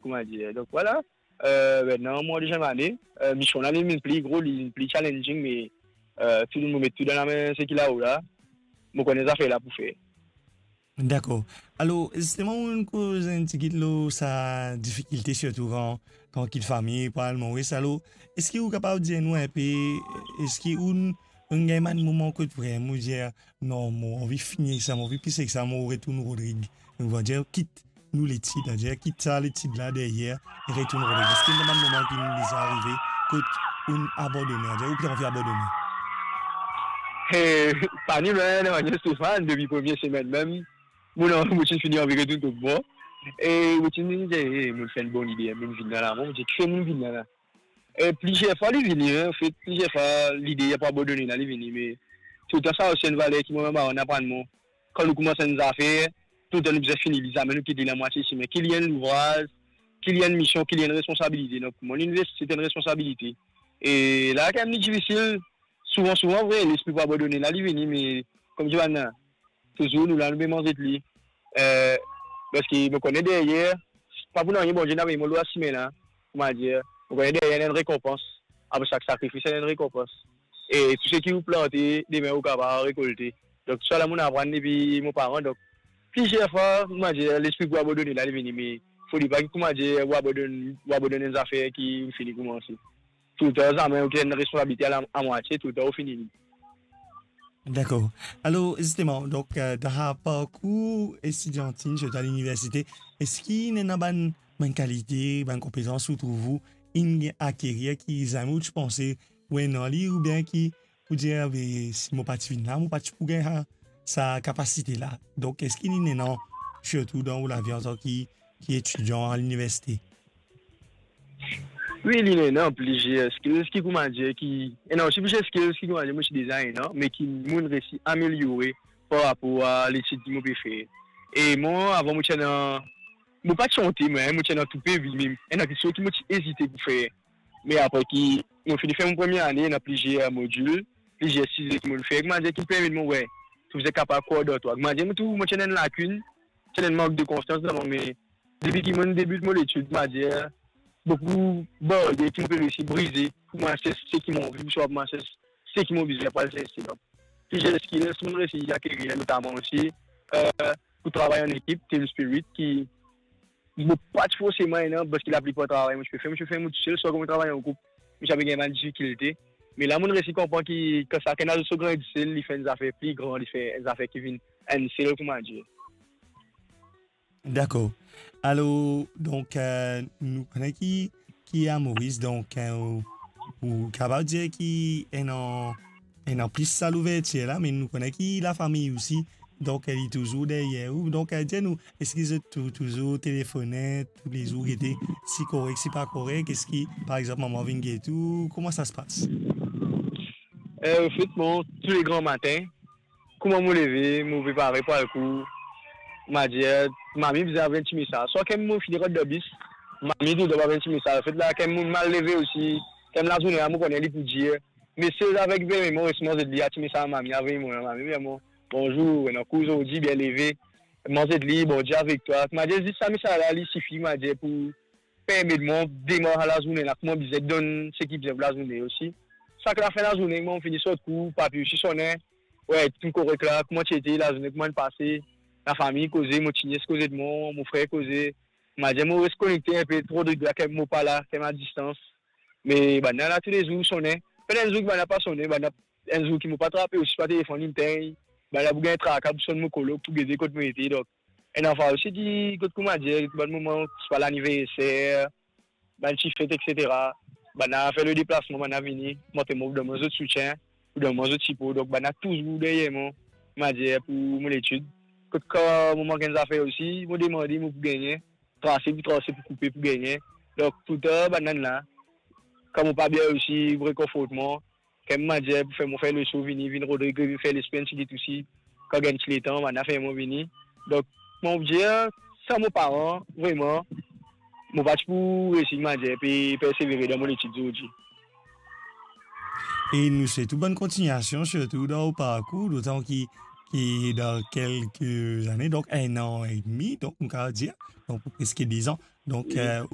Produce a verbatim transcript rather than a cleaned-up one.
kouma dir. Donk, vwala. Eh, mintnan, mwa deziem ane, eh, mision la, li vinn pli gro, li vinn pli challenging, me, eh, tou, mo met tou dan lame seki lao la, mo kone zafer la pou fer. Dakor. Alor, zisteman, ou'nn koz enn tigit lor sa difikilte, sirtou kan, kan kit fami pou al Moris. Alor, eski ou kapav dir nou enpe, eski ou'nn, ou'nn gagn bann moman kot vremem ou dir, "Non, mo anvi fini ek sa, mo anvi plis ek sa, mo retourn Rodrig." Ou va dir, kit nou letid, dir, kit sa letid la deryer, e retourn Rodrig. Eski ena bann moman ki'nn deza arive kot ou'nn abandone, dir, ou pe anvi abandone? Eh, pa ni, me, non, Stéphane, depi premie semenn mem, mo, non, mo ti fini anvi retourn kot mwa. E mo ti dir, "Eh, mo fer enn bon lide, mo vinn la la, mo ti kree mo vinn la la." E plizier fwa li vini, en, anfet, plizier fwa lide pou abandone la, li vini, me toultan sa osi enn valer ki mwa, mwa, bann marann aprann mwa. Kan nou koumans enn zafer, toultan nou bizin fini li, zame nou kit li lamwatie sime. Ki li enn louvraz, ki li enn mision, ki li enn responsabilite. Donk, mwa, linivers, se enn responsabilite. E la, kan mem li difisil, souvan, souvan, vre, lespri pou abandone la, li vini, me, kouma dir bann, touzour nou la, nou pe manz li. Eh, parski mo kone deryer, pa pou nanye Bondie inn avoy mwa lor sime la, kouma dir, mo kone deryer ena enn rekonpans. Apre sak sakrifis, ena enn rekonpans. E tou seki ou plante, demin ou kapav rekolte. Donk, sa la, mo'nn aprann depi mo paran. Donk, plizier fwa, kouma dir, lespri pou abandone la, li vini, me fode pa ki, kouma dir, ou abandone, ou abandone enn zafer ki ou fini koumanse. Toultan, zame ou gagn responsabilite a la, amwatie, toultan ou fini li. Dakor. Alor, zisteman, donk, eh, dan sa parkour estidiantin, sirtou a liniversite, eski ena bann, bann kalite, bann konpetans ou trouv ou inn akerir ki zame ou ti panse ou ena li, oubien ki, pou dir, "Be, si mo pa ti vinn la, mo pa ti pou gagn sa, sa kapasite la"? Donk, eski li ena, sirtou dan ou lavi antan ki, ki etidian a liniversite? Wi, li ena plizier skills ki, kouma dir, ki, ena osi plizier skills ki, kouma dir, mo ti deza ena, me ki mo'nn resi ameliore par rapor a letid ki mo pe fer. E mwa, avan mo ti ena, mo pa ti onte, mwa, mo ti ena tou pe vi, me ena kiksoz ki mo ti ezite pou fer. Me apre ki mo fini fer mo premie ane, ena plizier modil, plizier size ki mo'nn fer, kouma dir, ki permet mwa, we, tou bizin kapav krwar dan twa. Kouma dir, mo trouv mo ti ena enn lakinn, ti ena enn mank de konfians dan mwa, me depi ki mo'nn debit mo letid, kouma dir, boukou baryer ki mo pe resi brize, pou mo al sers seki mo anvi, swa pou mo al sers seki mo bizin pou al sers. Donk, plizier skills mo'nn resi akerir, notaman osi, eh, pou travay an ekip, team spirit, ki mo pa ti forseman ena, parski laplipar travay mo ti pe fer, mo ti pe fer mo tousel, swa kan mo travay an group, mo ti pe gagn bann difikilte. Me la, mo'nn resi konpran ki kan sakenn al so grain de sel, li fer enn zafer pli gran, li fer enn zafer ki vinn enn sel, kouma dir. Dakor. Alor, donk, eh, nou kone ki, ki a Moris, donk, eh, ou, ou kapav dir ki ena, ena plis sa louvertir la, me nou kone ki lafami osi, donk, eh, li touzour deryer ou. Donk, eh, dir nou, eski zot tou-, touzour telefone toulezour, gete si korek, si pa korek, eski, par exanp, mama vinn get ou, kouma sa se pas? Eh, anfet, mwa, tou le gran matin, kouma mo leve, mo prepare pou al kour, mo dir, mami bizin avoy enn ti mesaz. Swa kan mo fini rant dan bis, mami toultan avoy enn ti mesaz. Anfet la, kan mo mal leve osi, kan lazourne la, mo kone li pou dir. Me sel avek vremem mo res manz li, a ti mesaz mami avoy mwa, mami, vremem, "Bonzour, ena kour zordi, bien leve, manz li, Bondie avek twa." Mo dir, zis sa mesaz la, li sifi, mo dir, pou permet mwa demar lazourne la, kouma bizin donn seki bizin pou lazourne osi. Sak lafin lazourne, mo fini sort kour, papi osi sone, we, tou korek la, kouma ti ete, lazourne kouma inn pase, lafami koze, mo ti nies koze de mwa, mo frer koze. Mo dir mo res konekte enpe, tro de gra, kan mo pa la, kan mo a distans. Me bann la toulezour sone. Pena enn zour ki bann la pa sone, bann la, enn zour ki mo pa trape osi, pa telefonn inn tegn, bann la pou gagn traka pou sonn mo kolo, pou gete kot mo ete. Donk, ena fwa osi ki, kot kouma dir, bann moman, swa laniverser, bann ti fet, et cetera. Bann la fer le deplasman, bann la vini, montre mwa, pou donn mwa zot soutien, pou donn mwa zot sipo. Donk, bann la touzour deryer mwa, mo dir, pou mo letid. Kot kan mo mank enn zafer osi, mo demande, mo pou gagne. Trase pou trase, pou koupe pou gagne. Donk, toultan, bann la, kan mo pa bien osi, pou rekonfort mwa, kan mo dir, pou fer mo fer leso, vini, vinn Rodrig, vinn fer lespri enn tigit osi, kan gagn ti letan, bann la fer mo vini. Donk, mo dir, san mo paran, vremem, mo pa ti pou resi, mo dir, pe persevere dan mo letid zordi. E nou swet ou bonn kontignasion, sirtou dan ou parkour, dotan ki, ki dan kelke zane, donk enn an edmi, donk nou kapav dir, donk preske de zan, donk, wi, eh,